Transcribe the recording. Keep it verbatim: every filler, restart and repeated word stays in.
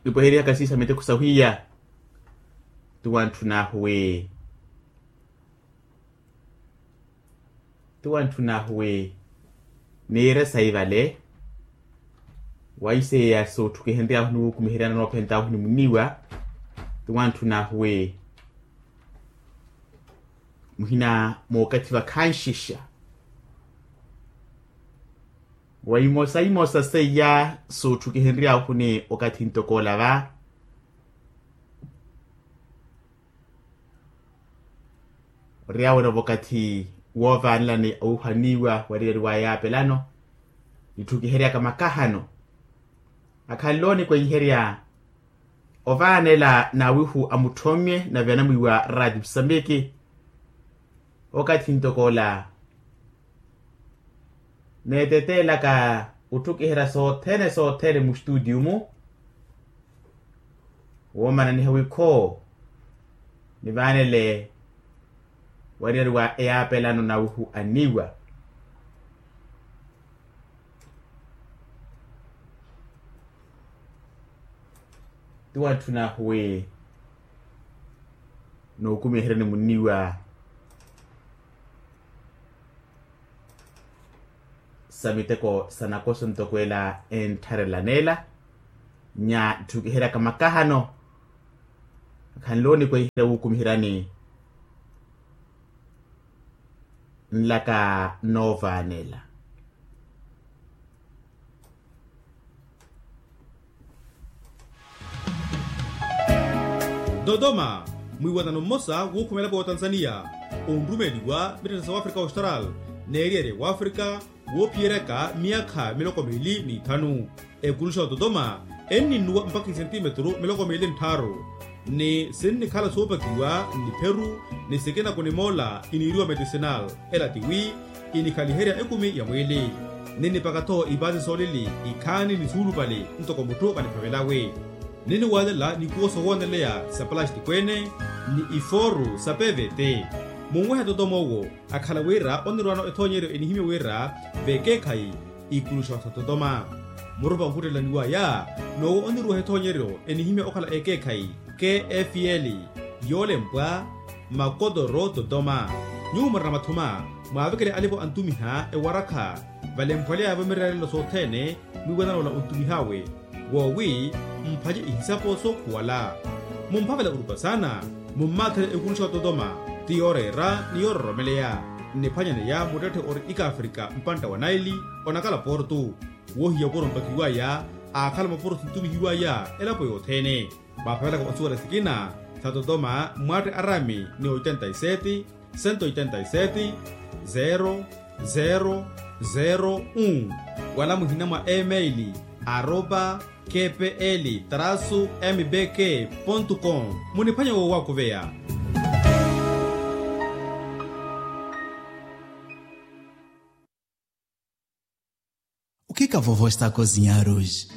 Nipweherihaka siisa miteko sahwiya. Ti wantthun'ahu wi ti wantthun'ahu wi niire sayi vale. Wa iseya sootthukihenry'ahu niwukumiheryana noophent'ahu ni muniwa. Ti wantthun'ahu wi muhina mookathi vakhanxixa wa imosa imosa seiya sootthukihenry'ahu ni okathi ntokoola va. Oriyawela vakathi woovaanelani owuhaniwa wariyari wa yaapelano nitthukiheryaka makahano akhanle onikwenherya ovaanela n'awihu a mutthomme nave anamwiiwa rati musambiki. Okathi ntokoola neeteteelaka otthukiherya sothene sothene mustutiyu-mu. Woomananiha wikho nivaanele wariyari wa eyaapelano nawihu anniwa. Ti wantthun'ahu wi nookumiherani munniwa sa miteko sa nakoso ntoko ela enttharelaneela nya tthukiheryaka makahano akhanle onikwenherya wukumiheryani nlaka noovaanela. Dodoma, mwiiwanano mmosa wuukhumela pootanzaniya onrumeeliwa mittettha sa wafrika austral n'eriyari ya wafrika woophiyeryaka miyakha miloko miili n'ithanu. Ekuluxa wa dodoma enninnuwa mpakha isentimetru miloko miili n'tthaaru ni sinnikhala soopakiwa n'ipheru ni sikina kunimoola iniiriwa medicinal. Ela tiwi inikhaliherya ekumi ya mwiili. Ninnipaka-tho ipaasi soolili ikhaani ni suulupale ntoko mutthu vaniphavelawe. Ninniwaalela nikuwo sowooneleya sa palastiko ene ni ifooru sa pevete. Munwehe dodoma owo akhala wira onirwaano ethoonyeryo enihimya wira vekeekhayi ikuluxa sa dodoma. Murupa onkhuttelaniwaya n'owo oniruweha ethoonyeryo enihimya okhala ekeekhayi kfl yoolempwa makotoro dodoma. Nyuwo murina mathuma mwaavekele alipo antumiha ewarakha valemphweleyavo mirerelelo sothene mwiiwananola ontumih'awe woowi mphace ihisapo sookhuwala. Mumphavela orupa saana mummaathele ekuluxa wa dodoma ti yooreera ni yoororomeleya. Nniphwanyaneya muttetthe ori ikaafrika mpantta wa naili onakala portu. Wohiya opuro mpakiwaya aakhala mapuro sintumihiwaya elapo yothene. Mwaapavelaka onsuwela sikina sa totoma mwatte arami ni oitenta y sete, sento oitenta y sete, zero zero zero un. Wala muhina mwa email aropa kpl trasu mbk pontu com. Muniphwanya woowakuveya. Okhika vovo estako zinyaruji.